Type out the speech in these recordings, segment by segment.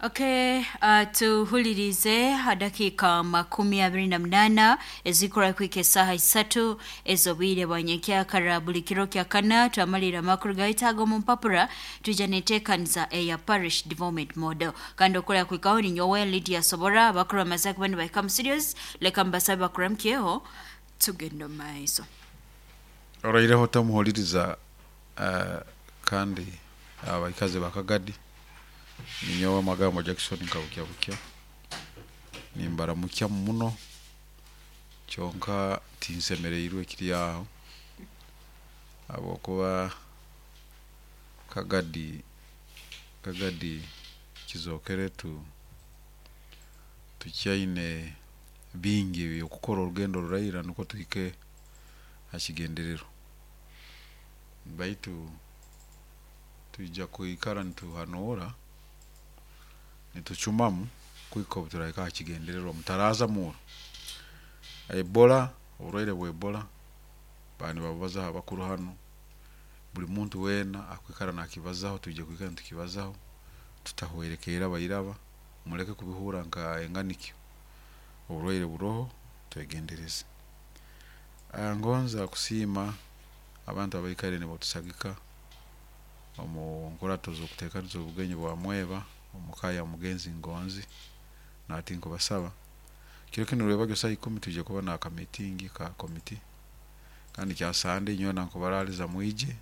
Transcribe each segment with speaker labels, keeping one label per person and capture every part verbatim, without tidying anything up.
Speaker 1: Okay, uh, tuhulirize dakika makumi abiri na munana ezikora kwika esaha isatu ez'obwire bwa nyenkyakara buli kiro kya kana twamalira amakuru gaitu ago mu mpapura twija neteekaniza eya parish development model. Kandi okora kwikaho ni nyowe Lydia Sobora. Abakuru bamaze kuba nibahika mu studios, leka mbasabe bakuramukyeho tugenda omu maiso.
Speaker 2: Oraireho tamuhuliriza uh, kandi abaikazi bakagadi ninyowe Magambo Jackson nkabukya bukya nimbaramukya muno, kyonka tinsemereirwe kiri aho habwokuba Kagadi Kagadi kizokere tu tukyaine bingi byokukora orugendo ruraira nukwo tuhike ha kigenderero, baitu twija kwikara nituhanuura nitucumamu kuhika obu turahika ha kigendererwa. Mutaraza muuro Ebola, oburwaire bwa Ebola baba nibabubazaho abakuru hanu, buli muntu weena akwikara nakibazaho, twije kwikara nitukibazaho tutahwerekerra bairaba, muleke kubihurra nka enganikyo, oburwaire buroho, twegendereze. Ngonza kusiima abantu abaikaire nibatusagika omu nkurato z'okuteekaniza obugenyi bwa Mweba omu ka ya mugenzi Ngonzi. Nati nkubasaba kiro kinu rwebagyo saaha ikumi twije kuba n'aka meeting ka komiti, kandi kya Sande nyowe nankubaraaliza mwije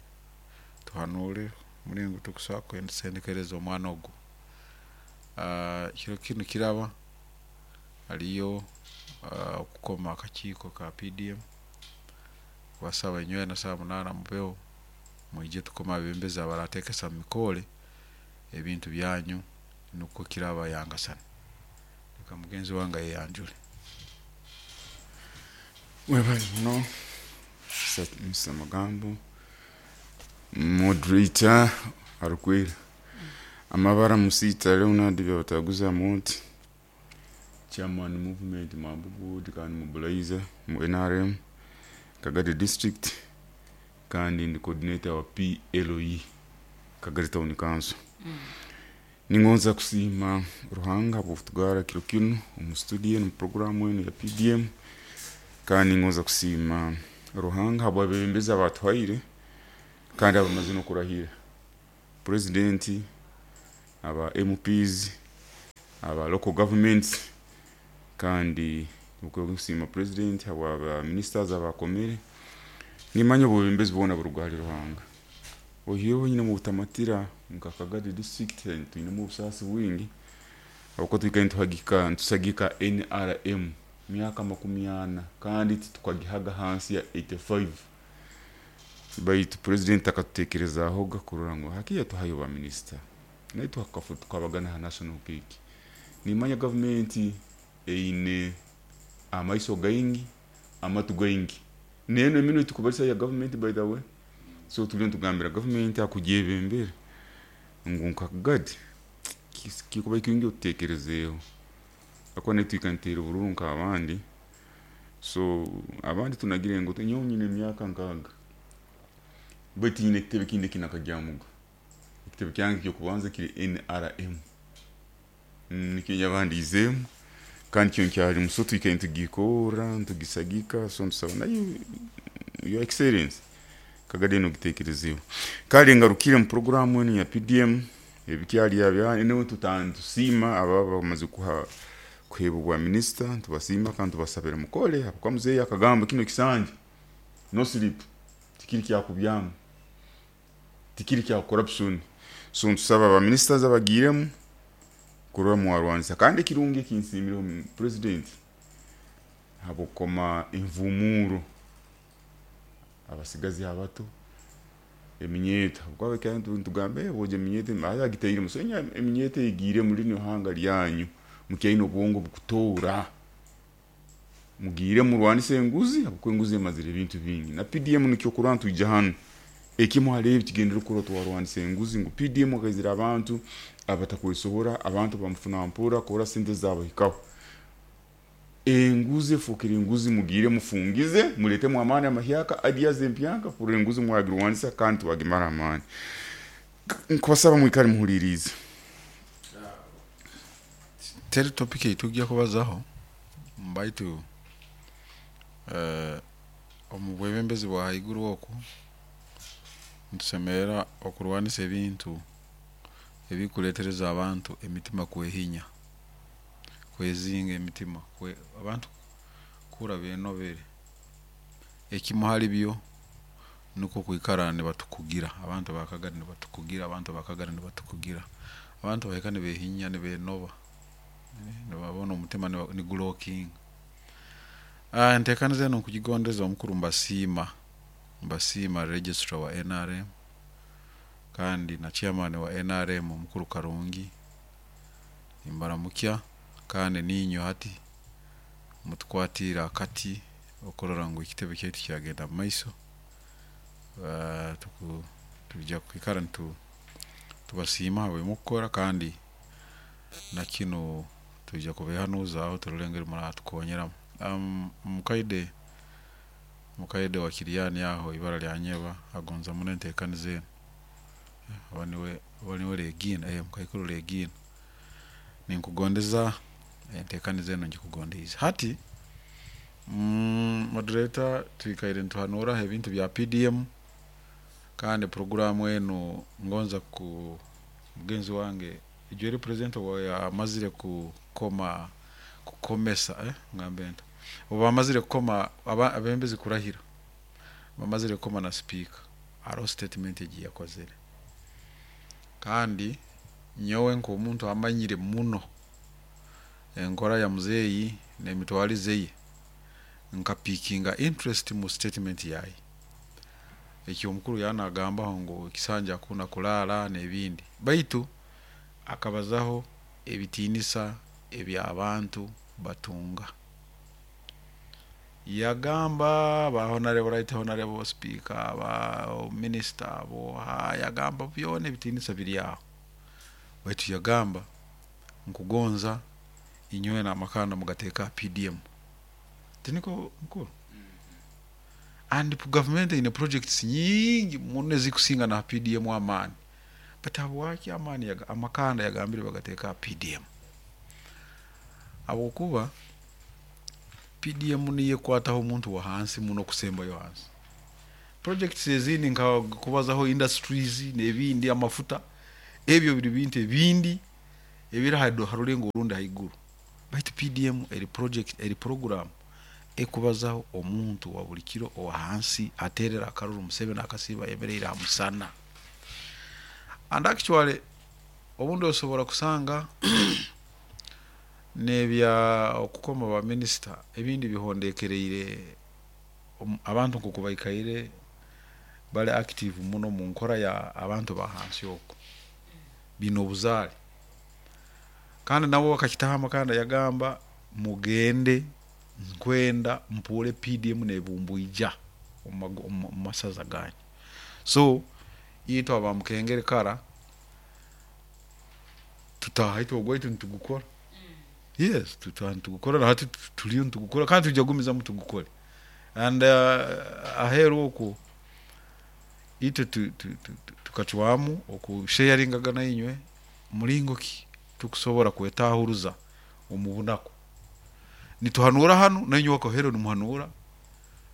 Speaker 2: tuhanuure mulingo tukusobora kusendekereza omwana ogu. Kiro kinu kiraba haliyo okukoma akakiiko ka P D M, kubasaba inywena saaha munaana mubeho mwije tukome abebembezi abarateekesa mumikoore ebintu byanyu nukwo kiraba yangasana. Leka mugenzi wange ayeyanjule.
Speaker 3: Webale muno, Mister Magambo, moderator arukwera. Amabara Musita Leonard Byabataguza Moti, chairman movement Mambugu kandi mobilizer mu N R M Kagadi district, kandi ndi coordinator wa P L E Kagadi Town Council. Ningonza kusiima Ruhanga habw'okutugara kiro kinu omu studio mu programu enu ya P D M, kandi ningonza kusiima Ruhanga habw'abebembezi abatuhaire kandi abamaze n'okurahira, president, aba M Ps, aba local governments, kandi kusiima president habwa ministers abakomere. Nimanya obwebembezi bwona buruga hali Ruhanga. Ohireho nyine mu butamatira nka Kagadi district twinemu obusaasi bwingi habwokuba twikaire nituhagika nitusagika N R M myaka makumi ana kandi titukagihaga hansi ya eighty-five, baitu president akatutekerezaahoga kurora ngu hakiya tuhayo ba minister naitwe hakafu tukabagana ha national cake. Nimanya gavumenti eine amaiso gaingi, amatu gaingi, neno eminwe tukubalisa ya gavumenti, by the way. So tuli nitugambira gavumenti akugyebembere ngu nka Kagadi kikuba kingi otutekerezeeho akuba naitwe niteera obururu nk'abandi. So abandi tunagire ngu nyowe nyine emyaka nkaaga, baitu nyine ekitebe kindi ekinakagyamuga. Ekitebe kyange ekyokubanza kiri N R M, nikyo nyabandiizeemu kandi kyo nkyalimu. So twikaire nitugikora nitugisagika. So ntusaba nayo, Your Excellence, Kagadi eno ogitekerezeeho. Kale ngarukire mu programu enu ya P D M ebikyali abya niwe tusiima aba bamaze kuha kuheebwa bwa minisita, tubasiima kandi tubasabira mukole habwokuba muzeeyi akagamba kino kisanja no sleep, tikiri kyakubyama, tikiri kya corruption. So ntusaba aba ministers abagiiremu kurora mwarwanisa. Kandi ekirungi ekinsiimireho president habwokukoma envumuro abasigazi abato eminyeeto, habwokuba nitugamba boja eminyeeto agitairemu. So eminyeeto egiiremu linu ihanga lyanyu, mukyaine obwongo bukutoora, mugiire murwanise enguzi habwokuba enguzi emazire ebintu bingi. Na P D M nikyo kurora ntwija hanu ekimu hali ebi kigendere kurora twarwanisa enguzi, ngu P D M akaizira abantu abatakwesobora, abantu bamufuna mpora kurora sente zabahikaho. Enguzi efukire enguzi, mugiire mufungize, muletemu amaani amahyaka, ideas empyaka kurora enguzi mwagirwanisa kandi twagimara amaani. Nkubasaba mwikale muhuliriize.
Speaker 2: Teri topic eitujja kubazaho baitu eh, omu bwebembezi bwa haiguru oku nitusemerra okurwanisa ebintu ebikureetereza abantu emitima kwehinya, kwezinga emitima, kwe abantu kuhurra benobere. Ekimu hali byo nukwo kwikara nibatukugira, abantu ba Kagari nibatukugira, abantu ba Kagari nibatukugira, abantu bahika nibehinya nibenoba, nibabona omutima nigulockinga. Enteekaniza enu nkugigondeza omukuru mbasiima, mbasiima registrar wa N R M kandi na chairman wa N R M omukuru Karungi, nimbaramukya kandi niinywe hati mutukwatiire akati okurora ngu ekitebe kyaitu kyagenda mumaiso. Twija kwikara nitubasiima habw'emukukora kandi na kinu twija kubeehanuuzaaho turole engeri muratukonyeramu. Mukaide mukaide wa Kiryani aho ibara lya Nyeba agonza muno enteekaniza enu, oba niwe oba niwe Regina, mukaikuru Regina, ninkugondeza enteekaniza enu ngikugondiize. Hati moderator twikaire nituhanuuraho ebintu bya P D M kandi puroguraamu enu ngonza ku mugenzi wange ijweri president obu yamazire kukoma kukomesa eh, ngambe nti obu bamazire kukoma abembezi kurahira, bamazire kukoma na speaker, hariho statement egi yakozere. Kandi nyowe nk'omuntu amanyire muno enkora ya muzeeyi n'emitwarize ye, nkapikinga interest mu statement yaye. Ekyo omukuru yanagambaho ngu ekisanja akunda kulaara n'ebindi, baitu akabazaho ebitiinisa eby'abantu batunga. Yagamba ba honorable right honorable speaker, ba minister, bo yagamba byona ebitiinisa biri aho, baitu yagamba nkugonza inywe n'amakanda mugateeka P D M. Tiniko mukuru? And government ine projects nyingi muno ezikusinga na P D M amaani, but habwaki amaani yaga, amakanda yagambire bagateeka P D M? Habwokuba P D M niyo ekwataho omuntu wa hansi muno kusembayo hansi. Projects ezindi nka kubazaho industries n'ebindi amafuta, ebyo biri bintu ebindi ebiri harulengo orundi haiguru, baitu P D M eri project eri program ekubazaho omuntu wa buli kiro owa hansi aterera akaruru Museveni akasiiba ayemereire aha musana. And actually obundi osobola kusanga n'ebya okukoma ba minister ebindi bihondekereire abantu nkoku baikaire bali active muno mu nkora ya abantu ba hansi okwo bino obuzaale. Kandi nabo bakakitaho amakanda yagamba mugende nkwenda mpuure P D M nebumbwija omu masaza ganyu. So itwe abamukengere kara tutaha itwe ogwaitu nitugukora. Yes, tutaha nitugukora na hati tuliyo nitugukora kandi tujja kugumizamu tugukore. And uh, aheeru okwo itwe tukacwamu okusharingaga inywe mulingo ki tukusobora kwetahuruza omu bunaku. Nituhanura hanu nainywe wakohero nimuhanura,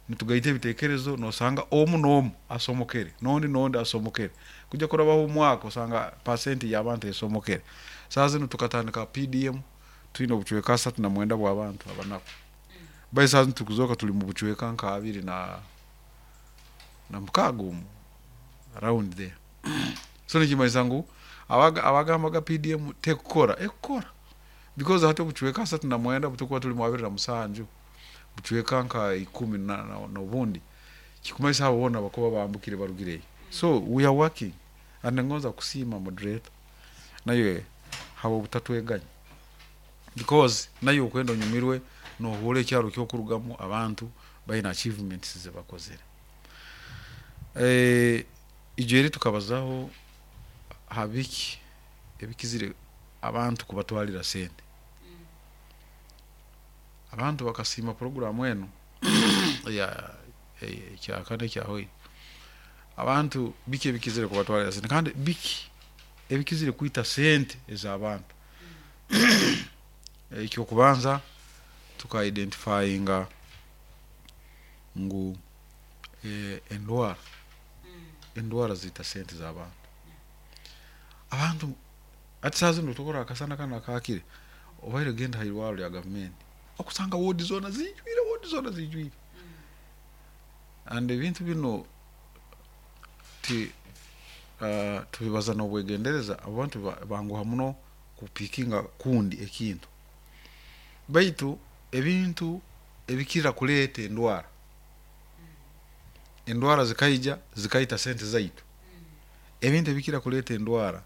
Speaker 2: nitugaita ebitekerezo nosanga omu n'omu asomokere nondi nondi asomokere, kujja kurabaho omwaka osanga pasenti y'abantu esomokere. Saaha zinu tukatandika P D M twine obucweka asatu na mwenda bw'abantu abanaku, bai saaha zinu tukuzoka tuli mu bucweka nka abiri na na mukaaga omu around there. So nikimanyisa ngu abagambaga P D M tekukora ekukora, because hati obucweka asatu na mwenda butukuba tuli mu abiri na musanju, bucweka nka ikumi na n'obundi, kikumanyisa abo boona bakuba bambukire barugireyo. So we are working and ngonza kusiima moderator naye habo obutatweganya, because naye okwenda onyumirwe nohuura ekyaro ky'okurugamu abantu baine achievements zebakozere. Eh, ijweri tukabazaho habiki ebikizire abantu kubatwalira sente. Abantu bakasiima programu eno ya ekyakane kyahoire. Abantu biki ebikizire kubatwalira sente kandi biki ebikizire kwita sente ez'abantu. Ekyokubanza tuka identifyinga ngu eh, endwara endwara ziita sente z'abantu. Abantu ati saaha zinu tukora akasana kanu akaakire, obaire genda ha irwarro lya gavumenti okusanga woodi zoona ziijwire, woodi zoona ziijwire. And ebintu binu ti uh, tubibaza n'obwegendereza. Abantu ba- banguha muno kupikinga kundi ekintu, baitu ebintu ebikira kuleeta endwara, endwara zikaija zikaita sente zaitu. Ebintu ebikira kuleeta endwara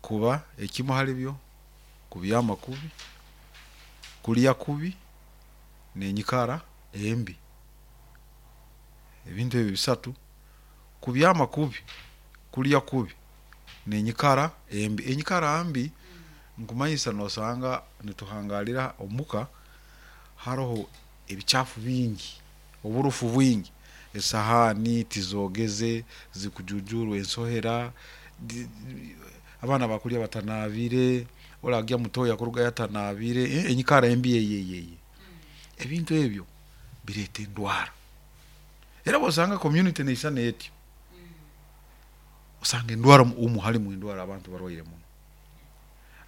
Speaker 2: kuba ekimu hali byo kubyama kubi, kulya kubi, n'enyikara embi. Ebintu ebi bisatu: kubyama kubi, kulya kubi, n'enyikara embi. Enyikara mbi nkumanyisa nosanga nituhangalira omuka haroho ebikyafu bingi, oburufu bwingi, esahaani tizogeze, zikujujurwa ensohera, di- di- abaana bakulya batanabire, oragya mutoyi akurugayo atanabire. eh, enyikara embi eyeyeye, ebintu ebyo bireeta endwara. Era bwosanga community neisana etyo, osanga endwara omu halimu endwara, abantu barwaire muno.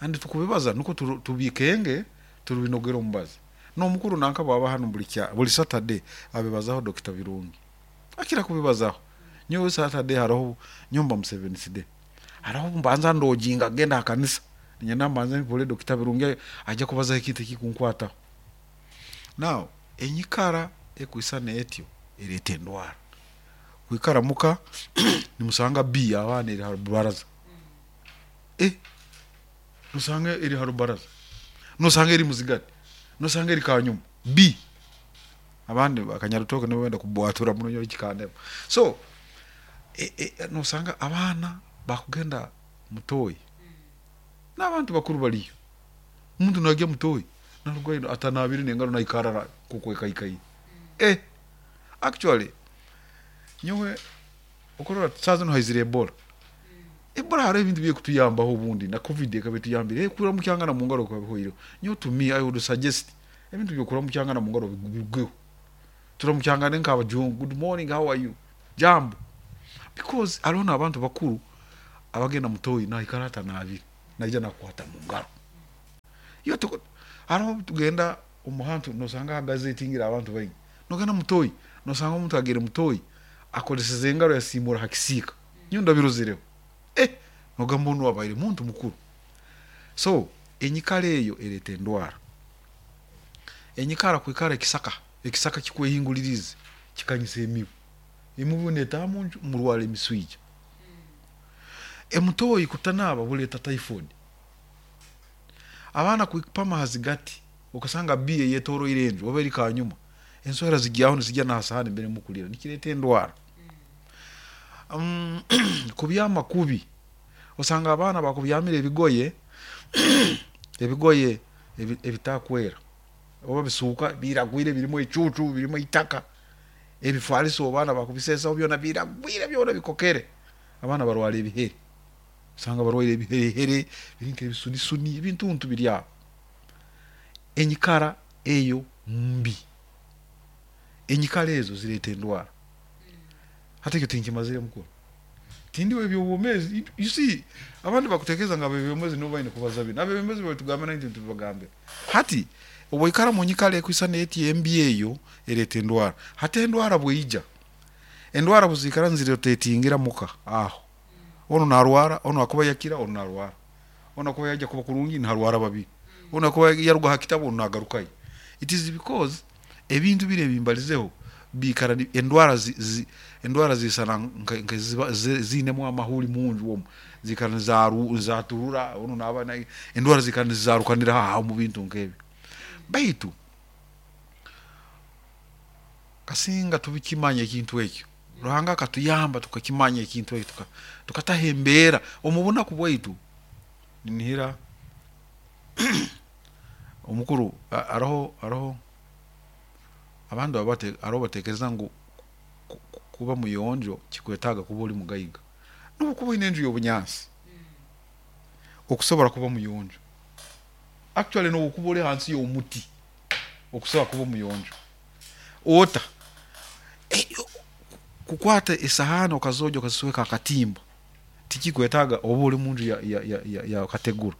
Speaker 2: And tukubibaza nuko turu- tubikenge turubinogera omubazi n'omukuru nanka bwaba hano buli kya buli Saturday abibazaho. Dokita Birungi akira kubibazaho. Nyowe Saturday haroho nyomba mu Seventh Day, haraho mbanza ndojinga genda ha kanisa, ninyenda mbanze mpule Dokita Birungi ajja kubazaho ekintu ekikunkwataho. Now enyikara ekwisana etyo ereeta endwara. Kwikara muka nimusanga bi abaana eri ha rubaraza, eh nosanga eri ha rubaraza, nosanga eri muzigati, nosanga eri kanyuma b abandi bakanyarutoke nibo benda kubwatura muno nyowe kikandema. So e, e, nosanga abaana bakugenda mutoyi n'abantu bakuru baliyo, omuntu nagya mutoyi narugayo atanabire n'engaro, naikarra kukwekaikaire. eh actually nyowe okurora saa zinu haizire Ebola. Ebola hariho ebintu byekutuyambaho obundi na COVID ekaba etuyambire. Kuramukyangana mu ngaro kuba bihoireho. Nyowe to me I would suggest ebintu byokuramukyangana mu ngaro bigweho, turamukyangane nk'abajungu: "Good morning, how are you?" Jambo. Because hariho n'abantu bakuru abagenda mutoyi naikara atanabire, naija nakukwata mu ngaro. Iyo tuko hariho tugenda omuhantu nosanga hagazetingira abantu baingi, nogenda mutoyi nosanga omuntu agere mutoyi akoreseze engaro yasimura ha kisiika. Nyo ndabirozereho, eh nogamba onu abaire muntu mukuru. So enyikara eyo ereeta endwara. Enyikara kwikara ekisaka, ekisaka kikwehingulirize kikanyisa emibu, emibu netaha munju murwara emiswija. Emutoyi kutanaba buleeta typhoid. Abaana kwipama hazigati, okasanga biye yetoroire enju oba eri kanyuma, ensohera zigyaho nizijya na sahani mbere mukulira, nikireeta endwara. um, kubyama kubi, osanga abaana bakubyamira ebigoye, ebigoye ebi- ebitakwera oba bisuuka biragwire, birimu ecucu, birimu itaka. Ebifaliso abaana bakubisesaho byona biragwire, byona bikokere. Abaana barwara ebihere, osanga barwaire ebiherehere biri nk'ebisunisuni, ebintuntu biri aho. Enyikara eyo mbi, enyikara ezo zireeta endwara. Hati ekyo tinkimazire mukuru, tindiwe ebyobwomezi. You see, abandi bakutekereza nga abebyomezi nibo baine kubaza bino. Abebyomezi babitugamba naitwe ntibibagambira. Hati obwoikara mu nyikara ekwisana eti embi, eyo ereeta endwara. Hati endwara bweija, endwara buzikara nizirotatingira muka aho, ono narwara, ono akuba yakira, ono narwara, ono akuba yajja kuba kurungi niharwara babiri, ono akuba yaruga ha kitabu, ono nagarukayo. It is because ebintu biri ebimbalizeho biikara ni- endwara zi, zi, endwara zisana nka- nka ziba- zi- ziinemu amahuri munju omu, zikara nizaru nizaturura ono naba na endwara zikara nizarukanira aho mu bintu nk'ebyo. Baitu kasinga tubikimanya ekintu ekyo, Ruhanga akatuyamba tukakimanya ekintu ekyo, tuka- tukataha embeera omu bunaku bwaitu. Ninihira omukuru a- aroho aroho abantu abate aroho batekereza ngu ku- ku- kuba muyonjo kikwetaaga kuba ori mugaiga. Nobu kuba oine enju y'obunyansi okusobora kuba muyonjo. Actually nokuba ori hansi y'omuti okusobola kuba omuyonjo ota Eh, kukwata esahani okazoja okazisweka akatimba tikikwetaaga oba oli munju ya, ya, ya, ya, ya kategura.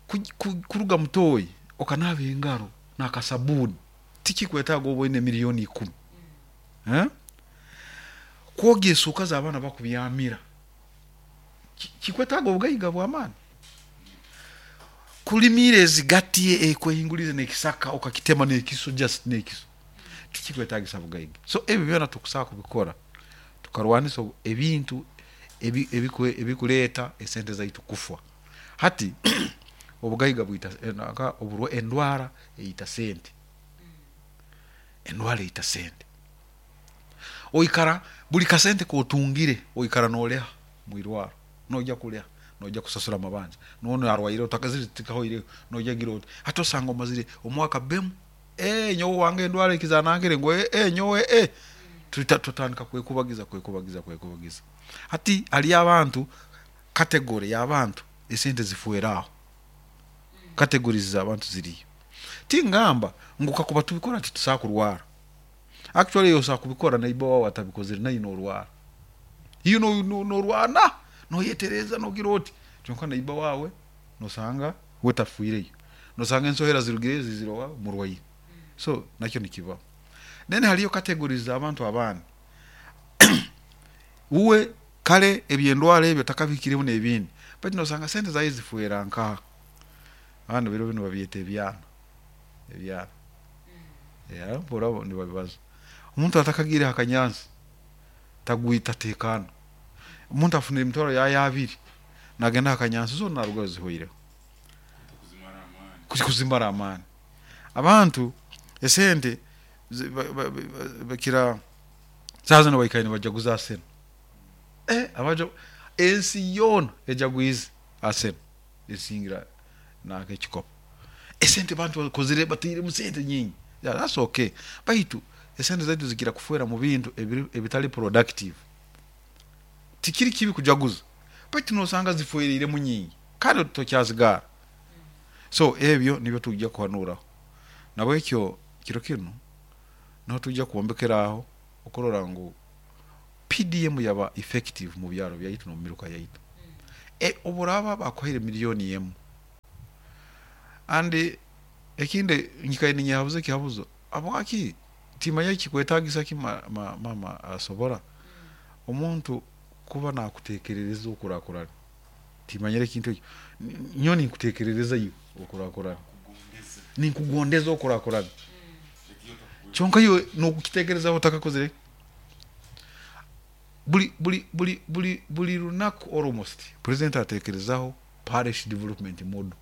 Speaker 2: Ku- ku- kuruga mutoyi okanaaba engaro n'akasabuni tikikwetaaga oba oine miliyoni ikumi, eh? Kwogya esuuka z'abaana bakubyamira ki- kikwetaaga obugaiga bw'amaani. Kulimiira ezigati ekwehingulirize n'ekisaka okakitema n'ekiso, just n'ekiso, tikikwetaagisa bugaiga. So ebyo byona tukusobola kubikora tukarwanisa obu- ebintu ebi- ebikwe- ebikuleeta esente zaitu kufa. Hati obugaiga bwita eh, naka oburwa endwara eyita sente, endwara eyita sente. Oikara buli kasente kotungire oikara noleha mwirwaro, nojya kuleha, nojya kusasura amabanja, nono arwaire otakazire tikahoireho, nojya gira oti hati osanga omazire omwaka bemu, eh, nyowe wange endwara ekizanankire ngu eh, eh, nyowe eh. Tuta- tutandika kwekubagiza kwekubagiza kwekubagiza. Hati haliyo abantu, category y'abantu esente zifueraho, categories z'abantu ziriyo. Tingamba ngu kakuba tubikora titusobola kurwara. Actually osobola kubikora neighbor wawe atabikozere naye norwara, iyo no- no- norwana noyetereza nogira oti, kyonka neighbor wawe nosanga we tafiireyo, nosanga ensohera zirugireyo zizire owawe murwaire. So nakyo nikibaho. Then haliyo categories z'abantu abandi, uwe kale ebyendwara ebyo takabikireho n'ebindi, baitu nosanga sente zaye zifuera nkaha abandi biro binu babyeta ebyana ebyana. Yeah, mpura nibabibaza omuntu atakagiire akanyansi tagwita tekana. Omuntu afunire emitwaro yaye abiri nagenda akanyansi zona narugayo zihoireho. Kuzi- kuzimara amaani. Abantu esente zi- ba- ba- ba- bakira saaha zino baikaire nibajaguza Arsenal. Eh, abaja ensi yoona ejagwize Arsenal esingira nanka ekikopo. Esente bantu bakozire batairemu sente nyingi. Yeah, that's okay, baitu esente zaitu zikira kufuera mu bintu ebiri- ebitali productive. Tikiri kibi kujaguza, baitu nosanga zifuereiremu nyingi kandi tokyazigara. So ebyo nibyo tujja kuhanuraho nabwekyo kiro kinu niho tujja kwombekeraho okurora ngu P D M yaba effective mu byaro byaitu n'omu miruka yaitu. E, oburaba bakuhaire miliyoni emu, and ekindi nyikaire ninyehabuza ekihabuzo, habwaki timanya kikwetagisa ki ma, ma, mama asobora omuntu kuba nakutekerereza okurakurana. Timanyire ekintu ekyo. N- nyowe ninkutekerereza iwe okurakurana, ninkugondeza okurakurana, kyonka iwe nokukitekerezaho otakakozire. Buli buli buli buli buli lunaku almost president atekerezaho parish development model,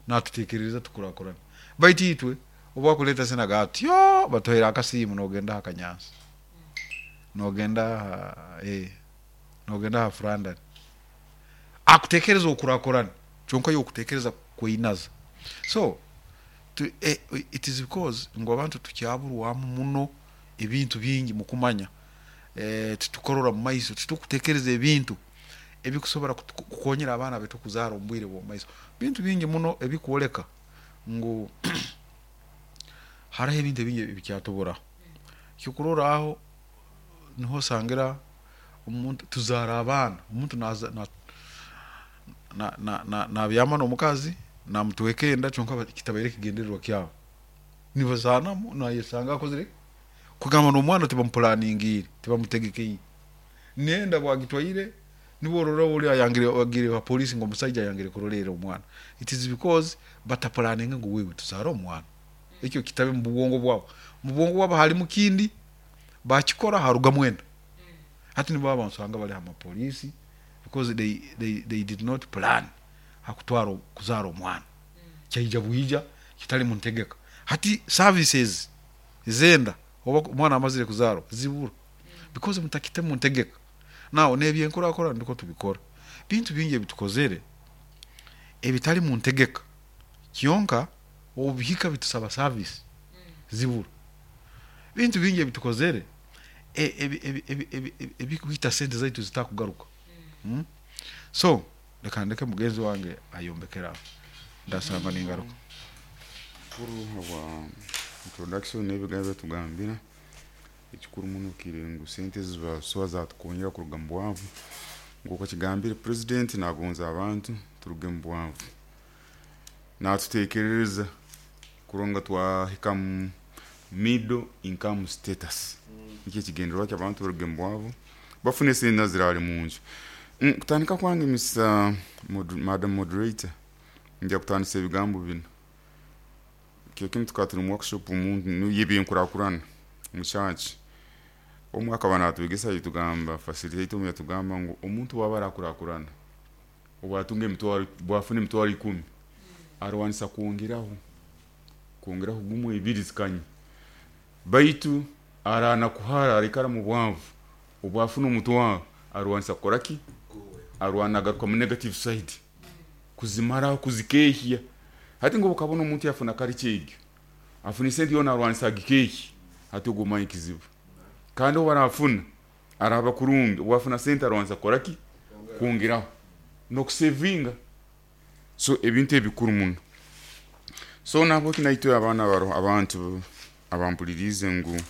Speaker 2: natutekerereza tukurakurana, baitu itwe obwakuleta senaga atyo batuhaire akasimu, nogenda akanyansi, nogenda ha- eh, nogenda ha Flandern akutekereza okurakurana, kyonka iwe okutekereza kweinaza. So tu, eh, it is because ngu abantu tukyaburwamu muno ebintu bingi mukumanya, eh, titukorora mu maiso, titukutekereza ebintu ebikusobora kutu- kukonyera abaana betu kuzaara omu bwire bw'omu maiso. Bintu bingi muno ebikwoleka ngu hariho ebintu ebingi ebikyatuburaho. Kyokurorraho niho osangira omuntu tuzaara abaana, omuntu naza na, na, na, na, nabyama n'omukazi namutweka enda, kyonka ba- kitabaire ekigendererwa kyabo, nibazaanamu nayesanga akozire kugamba n'omwana tibamupulaningiire, tibamutegekeire nenda bwagitwaire. Nibo orora oli ayangire agire wa polisi ngo omusaija ayangire kurolerera omwana. It is because batapulaninga ngu wewe tuzaara omwana, ekyo kitabe mu bwongo bwabo. Mu bwongo bwabo halimu kindi, bakikora harugamu enda. Hati nibo abantu usanga bali amapolisi because they, they, they did not plan hakutwara kuzaara omwana, kyaija bwija kitali mu ntegeka. Hati services ezenda oba omwana amazire kuzaarwa zibura because mutakite mu ntegeka. Naw n'ebyenkurakurana ndiko tubikora, bintu bingi ebitukozere ebitali mu ntegeka, kyonka obubihika bitusaba service zibura. Bintu bingi ebitukozere e- ebi- ebi- ebi- ebi- ebi- ebikuhita sente zaitu zitakugaruka, mm? So leka ndeke mugenzi wange ayombekeraho. Ndasanga ningaruka.
Speaker 3: Kuru habwa introduction n'ebigambo byatugambira, ekikuru muno kiri ngu sente zibasoa zatukonyera kuruga mu bwavu. Nk'uko kigambire president nagonza abantu turuge mu bwavu, natutekerereza kuronga twahika mu middle income status, nikyo ekigendererwa ky'abantu baruge mu bwavu bafune sente zirali munju. Mm, kutandika kwange Mister Mod Madam Moderator, nja kutandisa ebigambo bino. Kyo kimu tukaba turi mu workshop omuntu y'ebyenkurakurana mu church, omwe akaba natwegesa yatugamba, facilitator omwe yatugamba ngu omuntu waba arakurakurana obwatunga emitwaro, bwafuna emitwaro ikumi, arwanisa kwongeraho kwongeraho gumwe ebiri zikanye, baitu arana kuhara arikara mu bwavu, obwafuna omutwaro arwanisa kukora ki? Arwana agaruka mu negative side kuzimaraho, kuzikehya. Hati ngo ukabona omuntu yafuna kari kyegyo afuna sente yona arwanisa agikehya, hati ogwo omanya kizibu. Kandi obu arafuna araba kurungi, obwafuna sente arwanisa kukora ki? Kwongeraho n'okusevinga. So ebintu ebikuru muno. So nabwo kinaitwe abaana baro abantu abampulirize ngu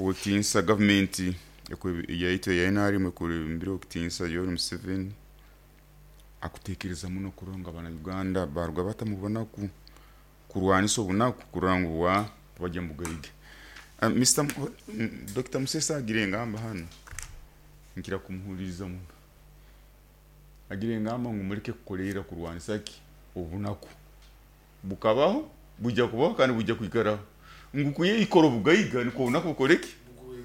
Speaker 3: owekitinisa gavumenti yaitu eya N R M ekurembire owekitinisa Yoweri Museveni akutekereza muno kuronga abana Uganda baruga batamubonaku kurwanisa obunaku kurora ngu bwa bajya mu bugaiga. Uh, Mister Doctor Musesa agire engamba hano, nkira kumuhuliriza muno. Agire engamba ngu muleke kukoleera kurwanisa ki obunaku bukabaho, bujja kubaho kandi bujja kwikaraho, ngu kuyikora obugaiga niko obunaku bukoreki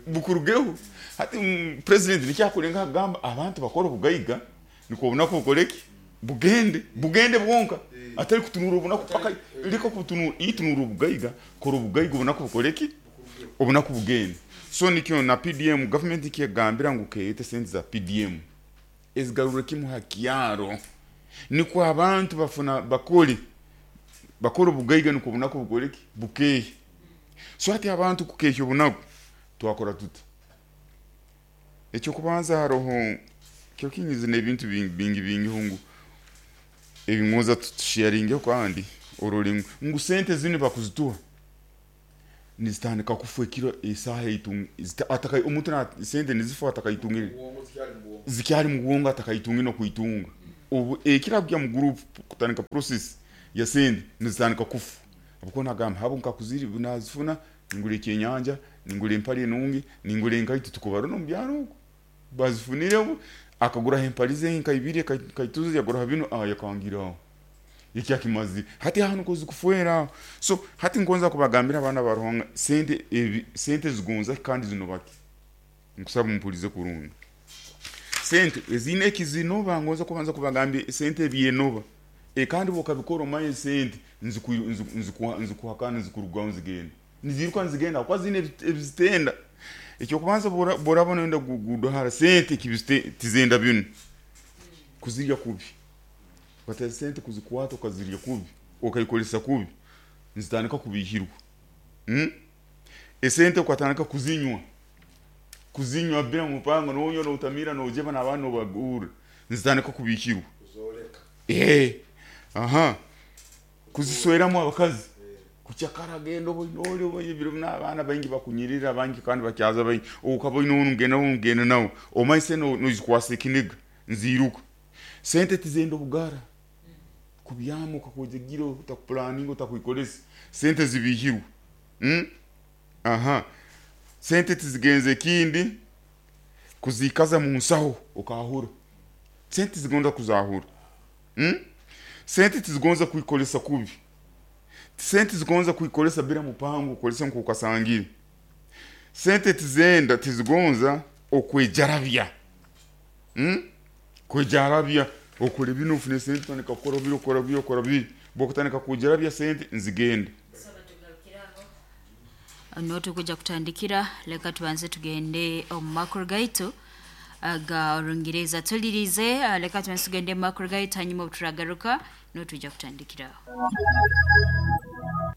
Speaker 3: bukurugeho. Hati mm, president nikyakurenga agamba abantu bakora obugaiga niko obunaku bukoreki bugende bugende bwonka, atari kutunura obunaku paka liko kutunura itunura obugaiga kora obugaiga obunaku bukoreki obunaku bugende. So nikyo na P D M government ikigambira ngu keyete sente za P D M ezigarura kimu hakyaro, niko abantu bafuna bakole bakora obugaiga niko obunaku bukoreki bukehe. So hati abantu kukehya obunaku twakora tuta? Ekyo kubanza haroho kyo kinyizi n'ebintu bingi bingi bingi hungu ebingoza tusharinge kandi orole ngu sente zini bakuzituha nizitandika kufa ekiro esaha eitunga ataka omuntu na sente nizifa atakayitungire zikyari mu bwongo atakayitungire no kuitunga obu ekira kujya mu group kutandika process ya sente nizitandika kufa. Abakona gamba habo nkakuziri nazifuna ningule ekyenyanja ningule empali enungi ningule enkaito tukubaro no mubyaro bazifunirebo akagura empali ze nkaibiri kaituzi yagura bino ah yakangiraho ekyakimazi hati hano kozi kufuera. So hati ngonza kubagambira abana baruhanga sente ebi, sente zigonza kandi zinobaki nkusaba mumpulize kurungi. Sente ezine ekizinoba ngonza kubanza kubagambira sente ebyenoba e kandi bokabikora omaye sente nziku nziku nzikuhakana nzikurugaho nzigenda niziruka nzigenda kwa zine ebizitenda. Ekyo kubanza borabona enda gudohara sente kibiste tizenda bino kuzirya kubi bateza sente kuzikwata ukazirya kubi ukayikolesa kubi nzitandika kubihirwa. Mm? Esente ukatandika kuzinywa kuzinywa bila mupango nonyo no utamira no ujeba na abantu bagura nzitandika kubihirwa eh aha kuzisweramo abakazi kuchakara gendo boinole boyibiro n'abana bangi bakunyirira bangi kandi bakyaza bangi ukabona ungena ungena nawo omaise no nozikwasa ekiniga nziruka sente tizendo bugara kubyamo ukakujegira utakuplanning utakuikolesa sente zibihirwa. Mm? Aha sente tizigenze kindi kuzikaza mu nsaho ukahura sente zigonza kuzahura. Mm? Sente tizigonza kuikolesa kubi sente zigonza kuikolesa bila mupango ukolesa nkukasangira sente tizenda tizigonza okwejarabya. Mm? Kwejarabya okole bino ufune sente tandika kukora bino kora bino kora bino bokutandika kujarabya sente nzigenda.
Speaker 1: Noto kuja kutandikira leka tubanze tugende omu makuru gaitu aga Orungereza tulirize leka tubanze tugende mu makuru gaitu hanyuma turagaruka no tujja kutandikira.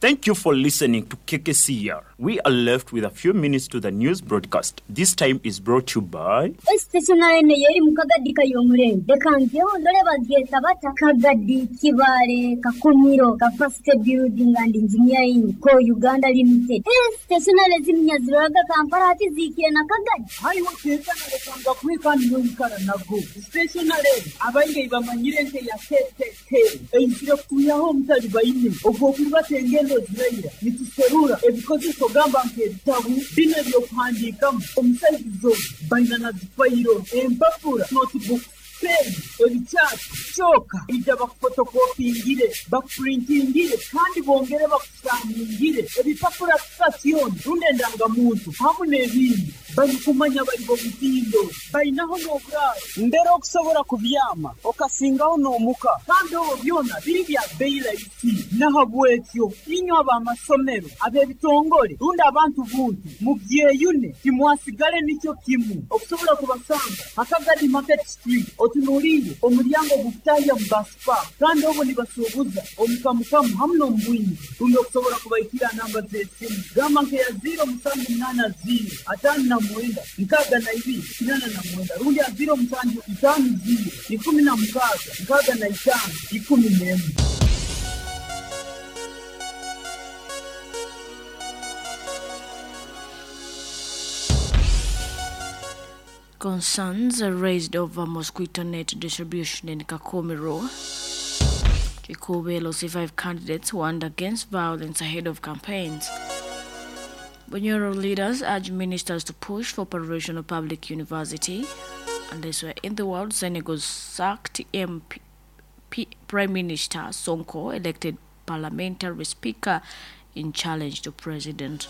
Speaker 4: Thank you for listening to K K C R. We are left with a few minutes to the news broadcast. This time is brought to you by
Speaker 5: Stationary yeri mukagadi kayomurembe kangeho ndore bageta bata Kagadi Kibare Kakumiro Capacity Building and Engineering Co Uganda Limited. Stationary zimnyaziraga Kampala ati zikire na Kagadi.
Speaker 6: Hayi wakeza na kwikandi n'oyikara nago. Stationary abainge bamanyire nte ya K K K. Eyisire kuyaho omutali bayine ogwo kulibata engendo zirayira nituserura ebikozeso gamba nk'ebitabu bino ebyokuhandiikamu omusaizizo baina na zifayiro empapura notebook pen ebikyapa kyoka ija bakufotokopingire bakupurintingire kandi bongere bakusaningire ebipapura sitasioni rundi endangamuntu hamu n'ebindi barikumanya bari bo mutindo bainaho n'oburaaro mbere okusobola kubyama okasingaho n'omuka kandi obwo byona biri bya bbeeyi rahisi nahabwekyo inywe ab'amasomero ab'ebitongole rundi abantu buntu mubyeyune timwasigale nikyo kimu okusobola kubasanga Hakagadi Market Street otunuulire omulyango gukutahya mu basipa kandi obwo nibasuubuza omukamukamu hamu n'omubwingi rundi okusobola kubaikira namba z'esimu gamba nkeya ziro musanju munaana ziro ataano na mwenda nkaaga na ibiri kinana na mwenda rundi aziro musanju itaano ziro ikumi na mukaaga nkaaga na itaano ikumi n'emwe.
Speaker 7: Concerns are raised over mosquito net distribution in Kakumiro. Kikuube L C five candidates warned against violence ahead of campaigns. Bunyoro leaders urge ministers to push for operation of public university. And this were in the world, Senegal sacked M P, P, Prime Minister Sonko, elected parliamentary speaker in challenge to president.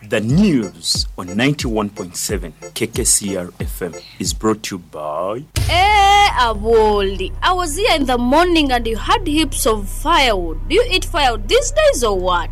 Speaker 4: The news on ninety-one point seven K K C R F M is brought to you by...
Speaker 8: Hey, Aboli, I was here in the morning and you had heaps of firewood. Do you eat firewood these days or what?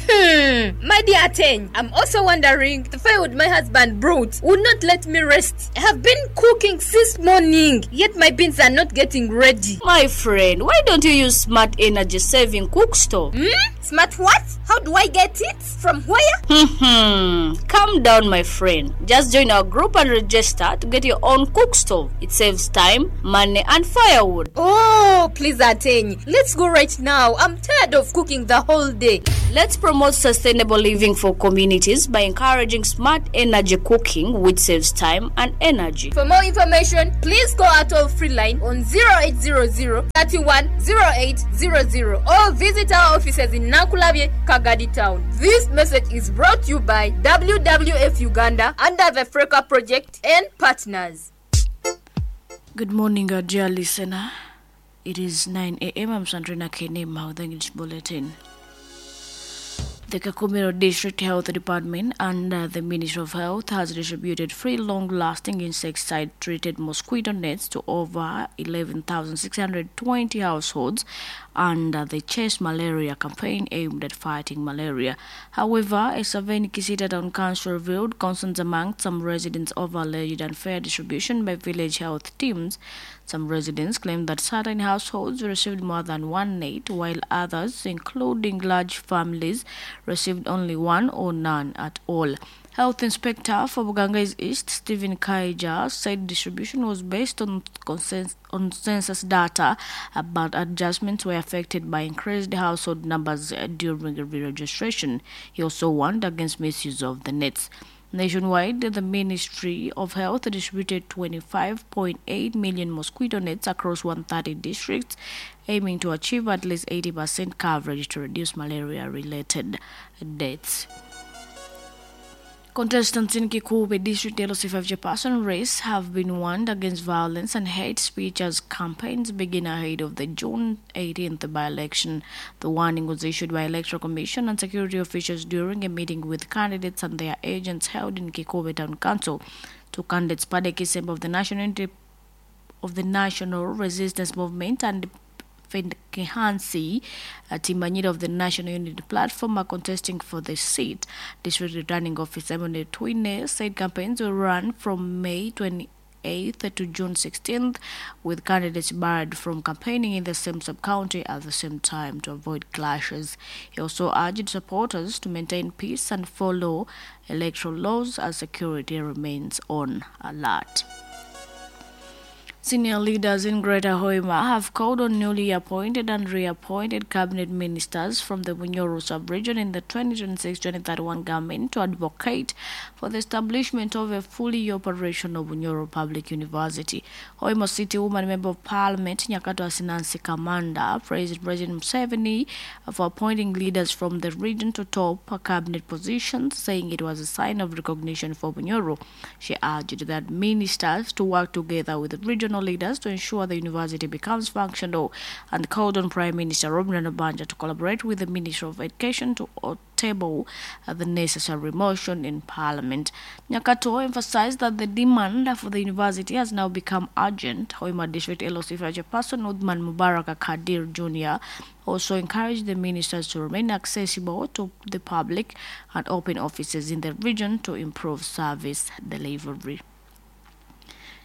Speaker 9: Hmm, my dear Ateng, I'm also wondering, the firewood my husband brought would not let me rest. I have been cooking since morning, yet my beans are not getting ready.
Speaker 8: My friend, why don't you use smart energy saving cook stove?
Speaker 9: Hmm? Smart what? How do I get it? From where?
Speaker 8: Hmm, calm down, my friend. Just join our group and register to get your own cook stove. It saves time, money, and firewood.
Speaker 9: Oh, please, Ateng, let's go right now. I'm tired of cooking the whole day.
Speaker 8: Let's promote sustainable living for communities by encouraging smart energy cooking, which saves time and energy.
Speaker 9: For more information, please call our toll-free line on zero eight zero zero, thirty-one, zero eight zero zero or visit our offices in Nakulabye, Kagadi Town. This message is brought to you by W W F Uganda under the Freka Project and partners.
Speaker 7: Good morning, our dear listener. It is nine a.m. I'm Sandrina Kenema with the English Bulletin. The Kakumiro District Health Department under the Ministry of Health has distributed free long-lasting insecticide-treated mosquito nets to over eleven thousand six hundred twenty households under the Chase Malaria campaign aimed at fighting malaria. However, a survey in Kisita Town Council revealed concerns among some residents over alleged unfair distribution by village health teams. Some residents claimed that certain households received more than one net, while others, including large families, received only one or none at all. Health Inspector for Bugangaizi East, Stephen Kaija, said distribution was based on, consens- on census data, but adjustments were affected by increased household numbers during re-registration. He also warned against misuse of the nets. Nationwide, the Ministry of Health distributed twenty-five point eight million mosquito nets across one hundred thirty districts, aiming to achieve at least eighty percent coverage to reduce malaria-related deaths. Contestants in Kikuube District L C five chairperson race have been warned against violence and hate speech as campaigns begin ahead of the June eighteenth by-election. The warning was issued by Electoral Commission and security officials during a meeting with candidates and their agents held in Kikuube Town Council. Two candidates, Pade Kisembe of the National of the National Resistance Movement and Kehansi Timanyira of the National Unity Platform, are contesting for the seat. District Returning Officer Emmanuel Twine said campaigns will run from May eighth to June sixteenth, with candidates barred from campaigning in the same sub-county at the same time to avoid clashes. He also urged supporters to maintain peace and follow electoral laws as security remains on alert. Senior leaders in Greater Hoima have called on newly appointed and reappointed cabinet ministers from the Bunyoro sub-region in the twenty twenty-six twenty thirty-one government to advocate for the establishment of a fully operational Bunyoro Public University. Hoima City Woman Member of Parliament Nyakato Asinansi Kamanda praised President Museveni for appointing leaders from the region to top cabinet positions, saying it was a sign of recognition for Bunyoro. She urged that ministers to work together with the regional leaders to ensure the university becomes functional, and called on Prime Minister Robinah Nabbanja to collaborate with the Ministry of Education to table the necessary motion in Parliament. Nyakato emphasized that the demand for the university has now become urgent. Hoima District L O C Chairperson Uthman Mubarak Kadir Junior also encouraged the ministers to remain accessible to the public and open offices in the region to improve service delivery.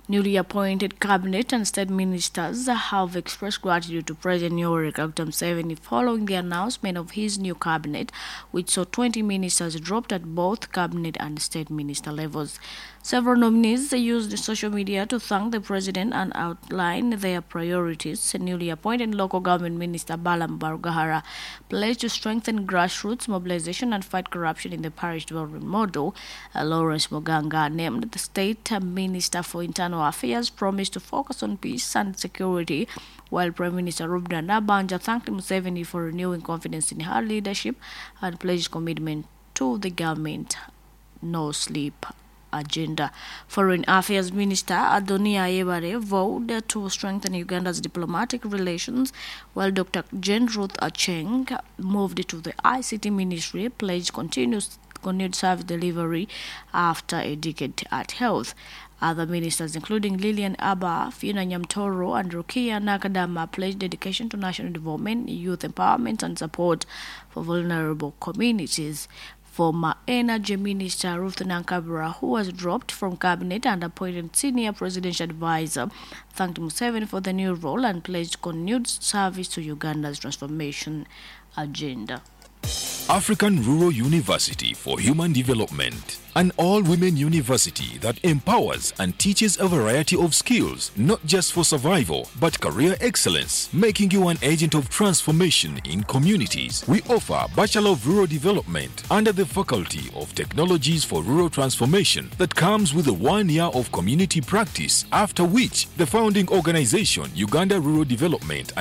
Speaker 7: Newly appointed cabinet and state ministers have expressed gratitude to President Yoweri Kaguta Museveni following the announcement of his new cabinet, which saw twenty ministers dropped at both cabinet and state minister levels. Several nominees used social media to thank the president and outline their priorities. Newly appointed local government minister Balaam Barugahara pledged to strengthen grassroots mobilization and fight corruption in the parish development model. Uh, Lawrence Muganga, named the state minister for internal Affairs, promised to focus on peace and security, while Prime Minister Robinah Nabbanja thanked Museveni for renewing confidence in her leadership and pledged commitment to the government no sleep agenda. Foreign Affairs Minister Adonia Ayebare vowed to strengthen Uganda's diplomatic relations, while Doctor Jane Ruth Acheng moved to the I C T Ministry, pledged continuous continued service delivery after a decade at health. Other ministers, including Lillian Abba, Fiona Nyamtoro, and Rukia Nakadama, pledged dedication to national development, youth empowerment, and support for vulnerable communities. Former Energy Minister Ruth Nankabirwa, who was dropped from cabinet and appointed senior presidential advisor, thanked Museveni for the new role and pledged continued service to Uganda's transformation agenda.
Speaker 10: African Rural University for Human Development, an all-women university that empowers and teaches a variety of skills, not just for survival, but career excellence, making you an agent of transformation in communities. We offer Bachelor of Rural Development under the Faculty of Technologies for Rural Transformation that comes with a one year of community practice, after which the founding organization, Uganda Rural Development and